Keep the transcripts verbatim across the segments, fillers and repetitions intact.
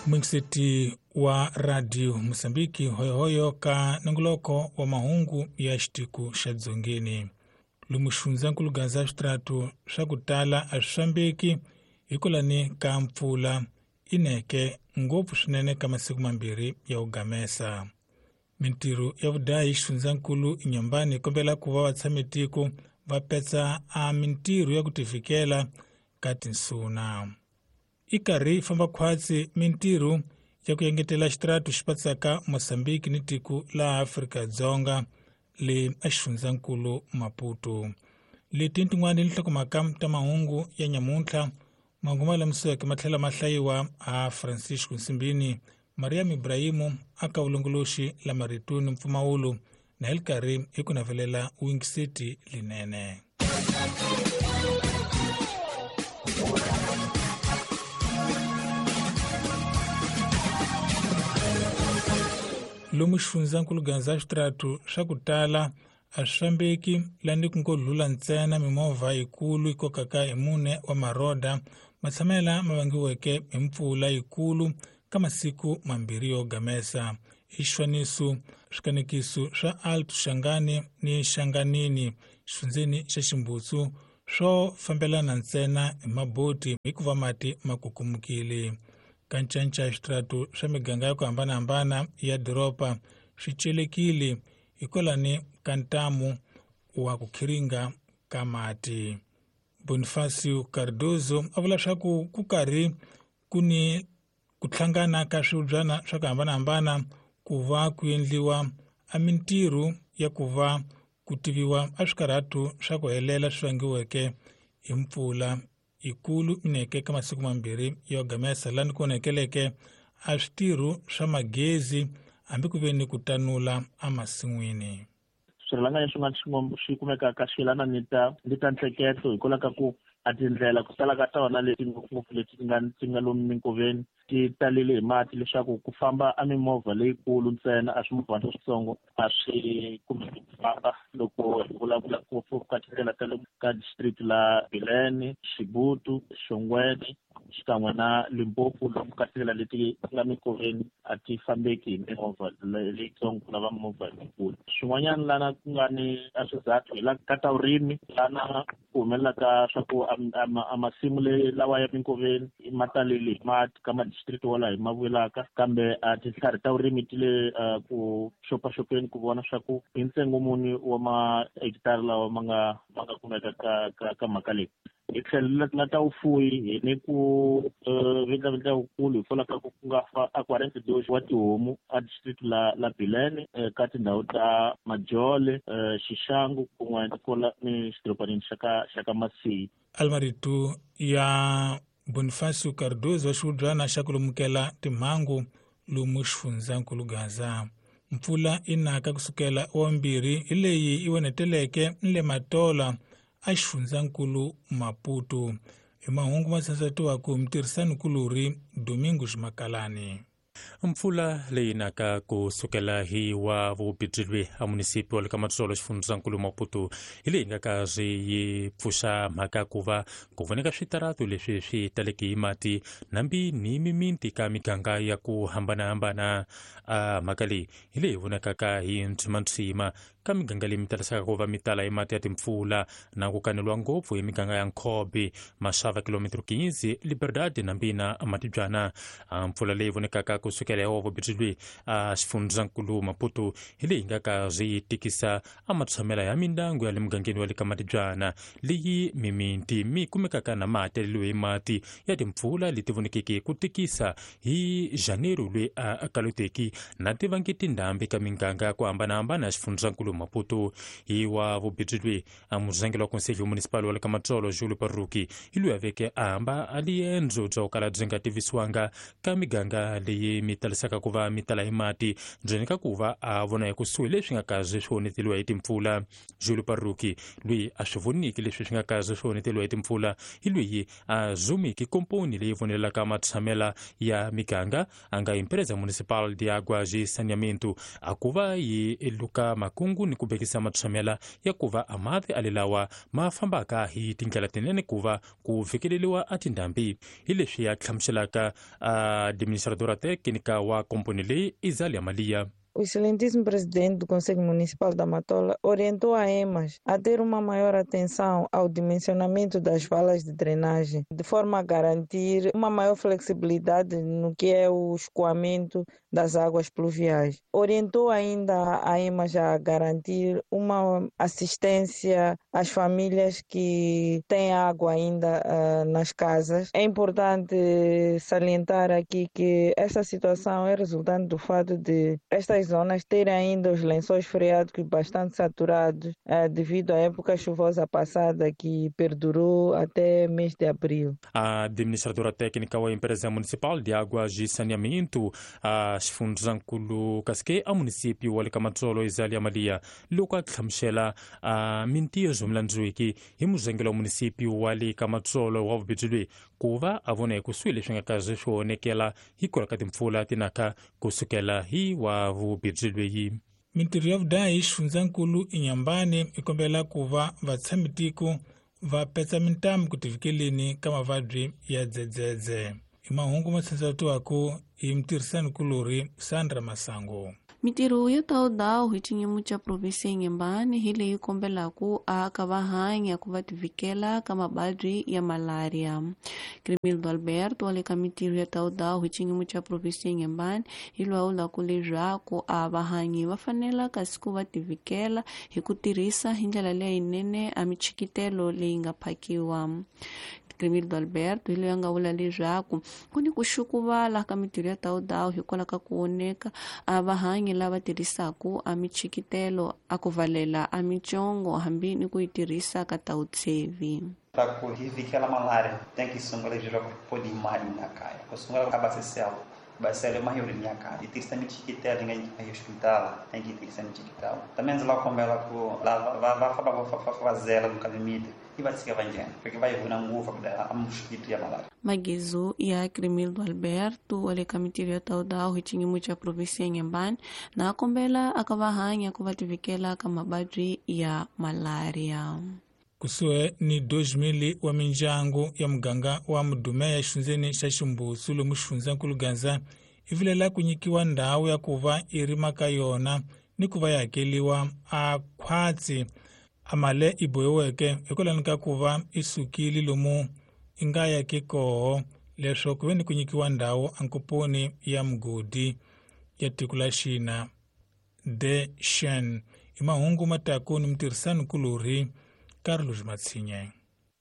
Mwingiseti wa Radio Mosambiki hoyohoyo ka nongoloko wa mahungu ya xitiko xa Dzongeni. Lomu xifundzankulu Gaza switrato swa ku tala a swi fambeki hikwalani ka mpfula ineke ngopfu swinene ka masiku mambirhi ya ku gamesa. Mintirho ya vudayi xifundzankulu Inhambane yi kombela ku va vatshamitiko va petsa a mintirho ya ku tivikela ka tinsuna. I karhi yi famba khwatsi mintirho ya ku engetela xitrato xi patsaka Mozambique ni tiko la Afrika-Dzonga le exifundzankulu Maputo. Leti tin'wana nhlokomhaka ta mahungu ya nyamuntlha mahungu ma lamisiweke ma tlhela ma hlayiwa a Francisco Nsimbini, Mariam Ibrahimu aka vulongoloxi la marito ni mpfumawulo na hi li karhi hi ku navelela wingiseti linene. Lomu xifundzankulu Gaza switrato swa ku tala a swi fambeki lani ku ngo dlula ntsena mimovha yikulu yi kokaka hi mune wa maroda matshamela ma vangiweke hi mpfula yikulu ka masiku mambirhi yo gamesa. I xifaniso swikanekiso swa Alto Xangani ni Xanganini xifundzeni xa Ximbutsu swo fambelana ntsena hi maboti hikuva mati ma kukumukile. Ka ncanca switrato swa miganga ya ku hambanahambana ya doroba swi celekile hikwalani ka ntamu wa ku khiringa ka mati. Bonifacio Cardozo a vula swa ku ku karhi ku ni ku hlangana ka swibyana swa ku hambanahambana ku va ku endliwa a mintirho ya ku va ku tiviwa a swikarhatu swa ku helela swi vangiweke hi mpfula ikulu ineke ka masiku mambirhi yo gamesa lani ku onekeleke a switirho swa magezi hambi ku ve ni ku tanula emasin'wini. Swirhalanganyi swin'wana swi kumekaka swi yelana ni ta ni ta ntlheketo hikwalaho ka ku a tindlela ku tala ka tona leti ngopfungopfu leti ti nga ti nga lomu minkoveni ti talele hi mati leswaku ku famba a mimovha leyikulu ntsena a swimovhana leswitsongo a swi kumeki ku famba. Loko hi vulavula ngopfu ka tindlela ta le ka district la Bilene, Xibutu, Xongweni xikan'we na Limpopo, lomu ka tindlela leti nga minkoveni a ti fambeki hi mimovha leyitsongo ku lava mimovha leyikulu. Swin'wanyana lana ku nga ni a swizathu hi la ka ta vurimi lana ku humelelaka swa ku a masimu lawa ya minkoveni ma talele hi mati ka madistrict walaho hi ma vulaka, kambe a tintlhari ta vurimi ti le ku xopaxopeni ku vona swa ku hi ntsengo muni wa mahekitara lawa ma nga ma nga kumeka ka ka ka mhaka leyi. Hi tlhelo la ta vufuwi hi ni ku vindlavindla wukulu hikwalaho ka ku ku nga fa a quarante dois wa tihomu a district la la Bilene ka tindhawu ta Majole, Xixangu kun'we kwala ni xidorobanini xa ka xa ka Masiyi. Almarito ya Bonifacio Cardozo wa xivubyana xa ku lumukela timhangu lomu xifundzankulu Gaza. Mpfula yi naka kusukela wa mbirhi hi leyi yi oneteleke ni le Matola a xifundzankulu Maputo. Hi mahungu ma sansatiwaka hi mutirhisanikulorhi Domingos Makalani. Mpfula leyi naka ku sukela hi wa vubibyi a munisipi wa le ka Matsolo xifundzankulu Maputo hi leyi nga ka swi yi pfuxa mhaka ku va ku voneka switaratu leswi swi taleke hi mati nambi ni miminti ka miganga ya ku hambanahambana. A mhaka leyi hi leyi vonakaka hi ntshimantsima ka miganga leyi mi talisaka ku va mi tala hi mati ya timpfula na ku kaneliwa ngopfu hi miganga ya Nkhobi, Maxava, kilometro quinze, Liberdade nambi na Matibyana. Mpfula leyi vonekaka ku sukela hi wa vubibyi a xifundzankulu Maputo hi leyi nga ka swi tikisa a matshamela ya mindyangu ya le mugangeni wa le ka Matibyana leyi miminti mi kumekaka na mahakelelo hi mati ya timpfula leti vonekeke ku tikisa hi Janeiro loyi a kaloteki na tivangi tindhambi ka miganga ya ku hambanahambana ya xifundzankulu Maputo. Hi wa vubibyi a murhangeri wa Conselho Municipal wa le ka Matsolo Julio Parruki hi loyi a veke a hamba a liendzo bya ku kala byi nga tivisiwanga ka miganga leyi mi talisaka ku va mi tala hi mati ndzeni ka ku va a vona hi kusuhi leswi nga kaze swi onheteliwa hi timpfula. Julio Parruki loyi a swi voniki leswi swi nga kaze swi onheteliwa hi timpfula hi loyi a zumiki komponi leyi vonelaka matshamela ya miganga a nga Empresa Municipal de Águas e Saneamento a ku va yi luka makungu ni ku vekisa matshamela ya ku va a mati alelawa ma fambaka hi tindlela tinene ku va ku fikeleliwa a tindhambi. Hi leswi ya hlamuselaka administradora técnica wa komponi leyi Izalia Malia. O excelentíssimo presidente do Conselho Municipal da Matola orientou a EMAS a ter uma maior atenção ao dimensionamento das valas de drenagem, de forma a garantir uma maior flexibilidade no que é o escoamento das águas pluviais. Orientou ainda a EMAS a garantir uma assistência às famílias que têm água ainda uh, nas casas. É importante salientar aqui que esta situação é resultante do fato de estas zonas terem ainda os lençóis freáticos bastante saturados eh, devido à época chuvosa passada que perdurou até mês de abril. A administradora técnica da empresa municipal de águas e saneamento, a Xifundzankulu Kasike, a município wa Lekamatolo Izalia Malia, loko a hlamusela a mintirho milandzuiki hi muzengelo wa município wa Lekamatolo wa vubijilwe ku va a vona ekusuhi leswi nga kazi swi onekela hikwalaho ka timpfula tinaka kusukela hi wa vubijilwe. Mintirho ya vudahi xifundzankulu Inhambane i kombela ku va vatshamitiko va petsa mintamu ku tivikeleni ka mavabyi ya dzedzedze. I mahungu ma tsandzatiwaka hi mutirhisanikulorhi Sandra Masango. Mintirho yo tawudawu hi xinyimo xa provinsi ya Inhambane hi leyi kombelaku aka va hanya ku va tivikela ka mavabyi ya malaria. Crimildo Alberto wa le ka mintirho ya tawudawu hi xinyimo xa provinsi ya Inhambane hi lwawulaku leswaku a vahanyi va fanela kasi ku va tivikela hi ku tirhisa hi ndlela leyinene a michikitelo leyi nga phakiwa. Crimildo Alberto hi loyi a nga vula leswaku ku ni ku xukuvala ka mintirho ya tawudawu hikwalaho ka ku oneka a vahanyi lava tirhisaku a michikitelo a ku valela a mitsongo hambi ni ku yi tirhisa ka tawutsevi. Para ku hi vikela malaria tem que sungula leswaku podi mali na kaya ku sungula ka basiselo basiselo mahiri ya kaya i tirhisa michikitelo nga yi hospital tem que tirhisa michikitelo também ndzi la kombela ku lava va va va va fazela no calimite i va tshika va nghena porque va yi vona ngopfu ku a mosquito ya malaria. Magezu ya Crimildo Alberto wa le ka mintirho ya tawudawu hi xinyimo xa provinsi ya Inhambane na kombela aka va hanya ku va tivikela ka mavabyi ya malaria. Kusuhi ni dois mil wa mindyangu ya muganga wa Mudumeya xifundzeni xa Ximbusu lomu xifundzankulu Gaza i vilela ku nyikiwa ndhawu ya ku va i rima ka yona ni ku va yi hakeliwa a khwatsi a male i bohiweke hikwalaho ka ku va i sukile lomu i nga yaki koho leswaku ku ve ni ku nyikiwa ndhawu ankoponi ya mugodi ya tiko la Xina de Shen. I mahungu mataku ni mutirhisanikulorhi Carlos Matsinye.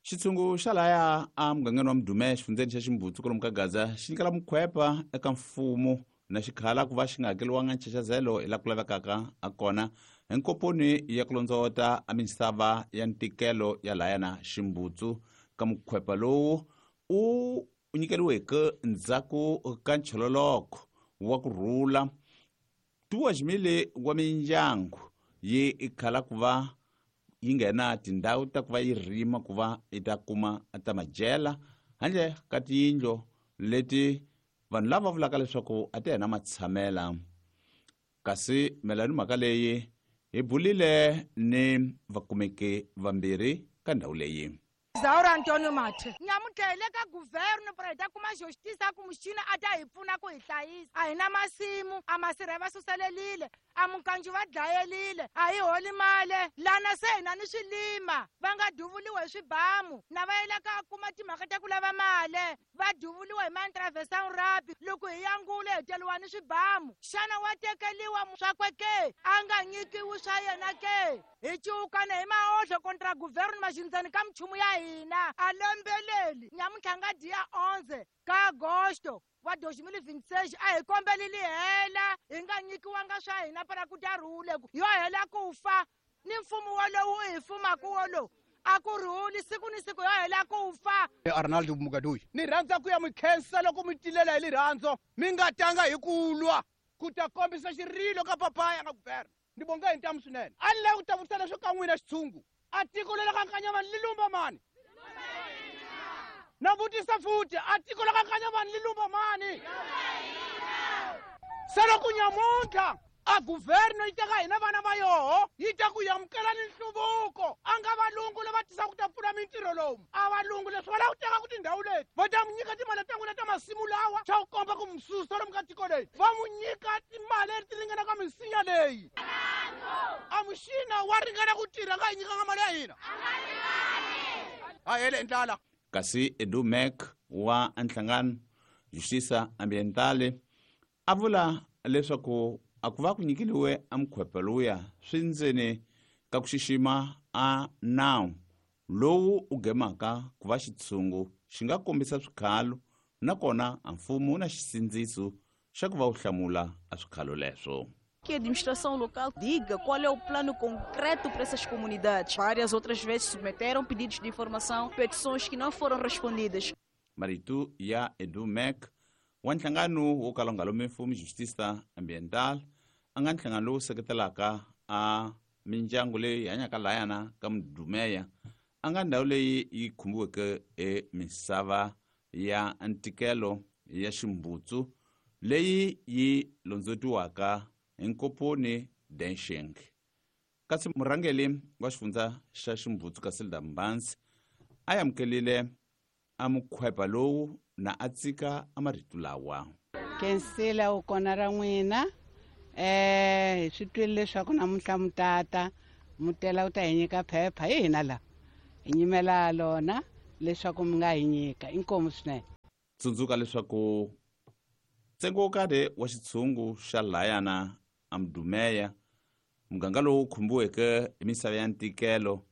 Xitshungu xa laya a mugangeni wa Mudume xifundzeni xa Ximbutsu kwalomu ka Gaza xi nyikela mukhwepa eka mfumo na xikhala ku va xi nga hakeliwanga nchachazelo hi laha ku lavekaka a kona hi nkoponi ya ku londzovota a misava ya ntikelo ya laya na Ximbutsu. Ka mukhwepa lowu u nyikeriweke ndzhaku ka nchololoko wa ku rhula duas mil wa mindyangu yi khala ku va yi nghena tindhawu ta ku va yi rima ku va yi ta kuma ta madyela handle ka tiyindlu leti vanhu lava vulaka leswaku a ti hena matshamela. Kasi mayelana ni mhaka leyi hi bulile ni vakumeki vambirhi ka ndhawu leyi. Zaura Antonio Mathe nyamuntlha hi le ka guverno para hi ta kuma justice ku muxina a ta hi pfuna ku hi hlayisa. A hi na masimu, a masirha va suselelile, a mukanju va dlayelile, a hi holi mali lana se hina ni swilima va nga duvuliwa hi swibamu na va yela ka kuma timhaka ta ku lava mali va duvuliwa hi mantraversang rabi loko hi yangule hi teliwa ni swibamu. Xana wa tekeliwa swakwe ke a nga nyikiwi swa yena ke? Hi ciukana hi maohlo kontra guverno maxindzani ka minchumu ya hina a lombeleli nyamuntlha nga dia onze ka agosto wa dois mil e vinte e seis a hi kombeleli hela hi nga nyikiwanga swa hina para ku ta rhule yo hela ku fa ni mfumo wolowu hi fumaku wolowu a ku rhuli siku ni siku yo hela ku fa. Arnaldo Mugadoyi ni rhandza ku ya mi khensa loko mi tilela hi rirhandzu mi nga tanga hi ku lwa ku ta kombisa xirilo ka papaya nga guverno. Ni bonga hi ntamu swinene a ni lava ku ta vutisa leswo ka n'wina xitshungu a tiko leri ka Nkanyamani li lumba mani? Na vutisa futhi a tiko la ka Nkanyamani li lumba mani? Se loko nyamuntlha A guverno yi teka hina vana va yoho yi ta ku amukela ni nhluvuko. A nga valungu lava tisaka ku ta pfula mintirho lomu. A valungu leswi va lava ku teka ku tindhawu leti va ta mu nyika timali ta n'wina ta masimu lawa xa ku komba ku mi susa lomu ka tiko leyi. Va mu nyika timali leti ringanaka misinya leyi. A muxina wa ringana ku tirha nga hi nyikanga mali ya hina. A hele ndlala. Kasi Edu Mac wa nhlangano Justiça Ambientale a vula leswaku a ku va ku nyikeliwe a mukhwepe luya swi ndzeni ka ku xixima a nawu lowu u gemaka ku va xitshungu xi nga kombisa swikhalo nakona a mfumo wu na xisindziso xa ku va wu hlamula a swikhalo leswo. Que a administração local diga qual é o plano concreto para essas comunidades. Várias outras vezes submeteram pedidos de informação, petições que não foram respondidas. Marito ya Edu Mac wa nhlangano wo kala wu nga lomi mfumo Justiça Ambiental a nga nhlangano lowu seketelaka a mindyangu leyi hanyaka layana ka Mudumeya a nga ndhawu leyi yi khumbiweke emisava ya ntikelo ya ximbutsu leyi yi londzetiwaka hi Nkoponi Densheng. Kasi murhangeri wa xifundza xa Ximbutsu Casilda Mbanzi a amukelile a mukhwepa lowu na a tsika a marito lawa. Kensela u kona ra n'wina eh hi swi twile leswaku namuntlha mutata mutela u ta hi nyika phepha hi hina la hi nyimela lona leswaku mi nga hi nyika inkomu swinene. Tsundzuka leswaku ntsengo wo karhi wa xitshungu xa layana a Mudumeya muganga lowu khumbiweke hi misava ya ntikelo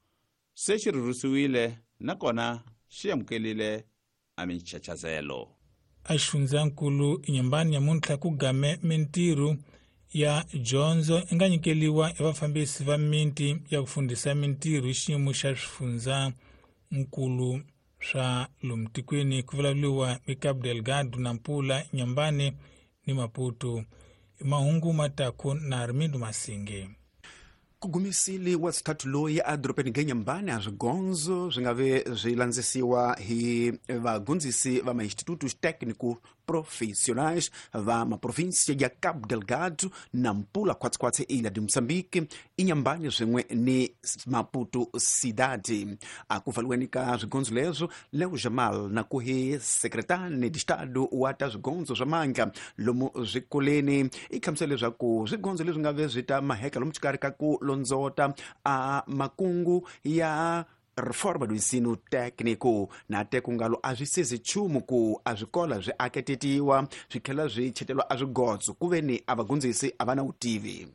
se xi rhurhisiwile nakona xi amukelile a minchachazelo. A xifundzankulu Inhambane nyamuntlha ku game mintirho ya dyondzo i nga nyikeliwa hi vafambisi va miti ya ku fundisa mintirho hi xiyimo xa swifundzankulu swa lomu tikweni ku vulavuriwa hi Cabo Delgado, Nampula, Inhambane ni Maputo. Mahungu mataku na Armindo Masinge. Ku gumisile wa xithathu loyi edorobeni ra Inhambane a swigondzo swi nga ve swi landzisiwa hi vagondzisi va ma-institutos técnico profissionais va maprovinsia ya Cabo Delgado, Nampula, khwatsikhwatsi Ilha de Moçambique, Inhambane swin'we ni Maputo Cidade. A ku pfaliweni ka swigondzo leswo, Leo Jamal na ku hi secretane de Estado wa ta swigondzo swa mandla lomu swikoleni i hlamusela leswaku swigondzo leswi nga ve swi ta maheka lomu xikarhi ka ku londzota a makungu ya reforma do ensino técnico na te kungalo a swi sezi nchumu ku a swikola swi aketetiwa swi tlhela swi chetelwa a swigotso ku ve ni a vagondzisi a va na vutivi.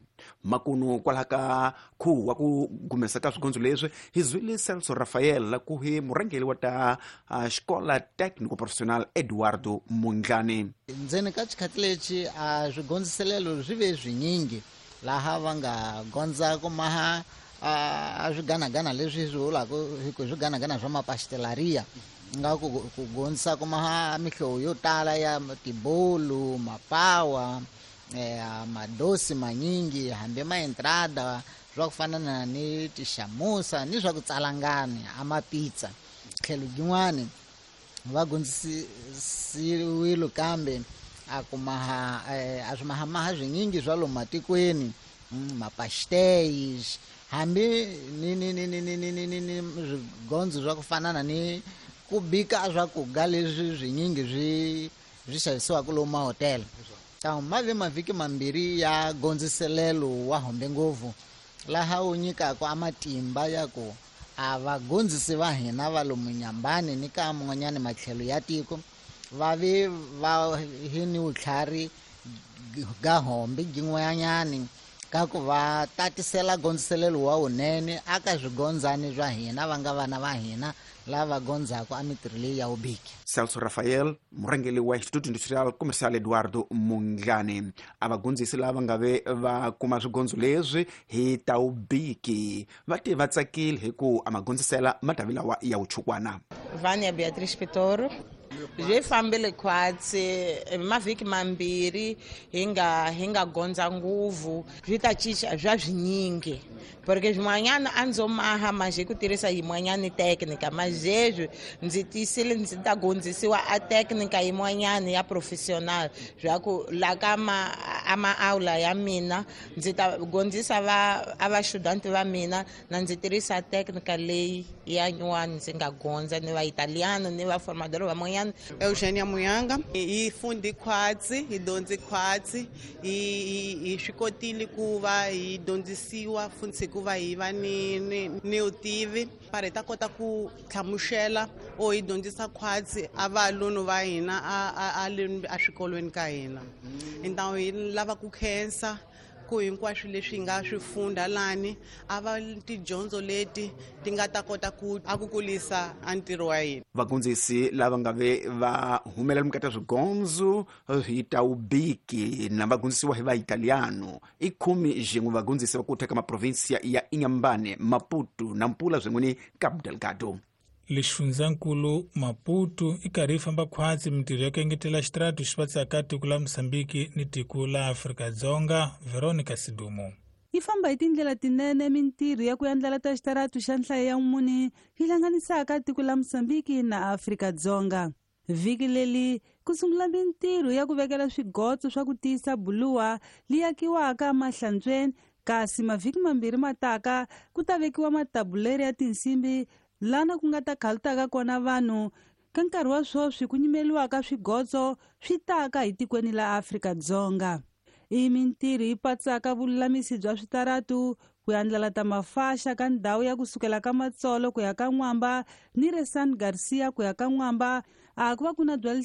Makunu kwalaha ka khuwa wa ku gumesa ka swigondzo leswi hi zwile Celso Rafael ku hi murhangeri wa ta xikola técnico profissional Eduardo Mundlani. Ndzeni ka xikhathi lexi a swigondziselelo swi ve swinyingi laha va nga gondza ku maha a swiganagana leswi swi vulaka hi ku swiganagana swa mapastelaria nga ku ku gondzisa ku maha mihlovo yo tala ya tibolu mapawa eh, madosi manyingi hambi maentrada swa ku fana na ni tixamusa ni swa ku tsalangani a mapizza. Tlhelo byin'wani va gondzisiwile kambe a ku maha a swi mahamaha swinyingi swa lomu matikweni mapastéis hambi ni ni ni ni ni ni ni ni ni swigondzo swa ku fana na ni ku bika swakudya leswi swinyingi swi swi xavisiwaka lomu mahotela. Tau ma ve mavhiki mambirhi ya gondziselelo wa hombe ngopfu laha wu nyikaka a matimba ya ku a vagondzisi va hina va lomu Inhambane ni ka man'wanyana matlhelo ya tiko va ve va hi ni vutlhari ga hombe byin'wanyani ka ku va tatisela gondziselelo wa wunene aka swigondzani swa hina va nga vana va hina lava gondzaka a mitirho leyi ya vubiki. Celso Rafael murhangeri wa Instituto Industrial Comercial Eduardo Mundlani a vagondzisi lava nga ve va kuma swigondzo leswi hi ta vubiki va te va tsakile hi ku a magondzisela matavi lawa ya vuchukwana. Vânia Beatriz Pitoro byi fambile khwatsi mavhiki mambirhi hi nga hi nga gondza nguvu swi ta cinca swa swinyingi porque swin'wanyana a ndzo maha manjhe ku tirhisa yin'wanyani teknika mazhezwi ndzi tiyisile ndzi ta gondzisiwa a teknika yin'wanyani ya professional swa ku la ka ma a maaula ya mina ndzi ta gondzisa va a va-student va mina na ndzi tirhisa técnica leyi ya nyuwani ndzi nga gondza ni va italiano ni va formador van'wanyana. Eugenia Muyanga hi fundi khwatsi hi dyondzi khwatsi hi hi swi kotile ku va hi dyondzisiwa funtsi ku va hi va ni ni ni vutivi para hi ta kota ku hlamusela o hi dyondzisa khwatsi a valunu va hina a a a swikolweni ka hina. Então hi lava ku khensa ku hinkwaswo leswi hi nga swi funda lani a va tidyondzo leti ti nga ta kota ku a ku kulisa a ntirho wa hina. Vagondzisi lava nga ve va humelela mukati swigondzo hi taubiki na vagondzisiwa hi vaitaliano i khume xin'we vagondzisi va ku teka maprovinsia ya Inhambane, Maputo, Nampula swin'we ni Cabo Delgado. Lexifundzankulu Maputo i karhi yi famba khwatsi mintirho ya ku engetela xitaratu xi patsaka tiko la Mozambique ni tiko la Afrika-Dzonga. Veronica Sidumo. Yi famba hi tindlela tinene mintirho ya ku endlela ta xitaratu xa nhlayo ya mune yi hlanganisaka tiko la Mozambique na Afrika-Dzonga. Vhiki leri ku sungula mintirho ya ku vekela swigotso swa ku tiyisa buluwa leyi akiwaka emahlantsweni, kasi mavhiki mambirhi mataka ku ta vekiwa matabuleri ya tinsimbi lana ku nga ta khalutaka kona vanhu. Ka nkarhi wa sweswi ku nyimeliwaka swigotso swi taka hi tikweni la Afrika-Dzonga. I mintirho yi patsaka vululamisi bya switaratu ku andlala ta mafaxa ka ndhawu ya kusukela ka Matsolo ku ya ka N'wamba ni re San Garcia ku ya ka N'wamba a ku va ku na bya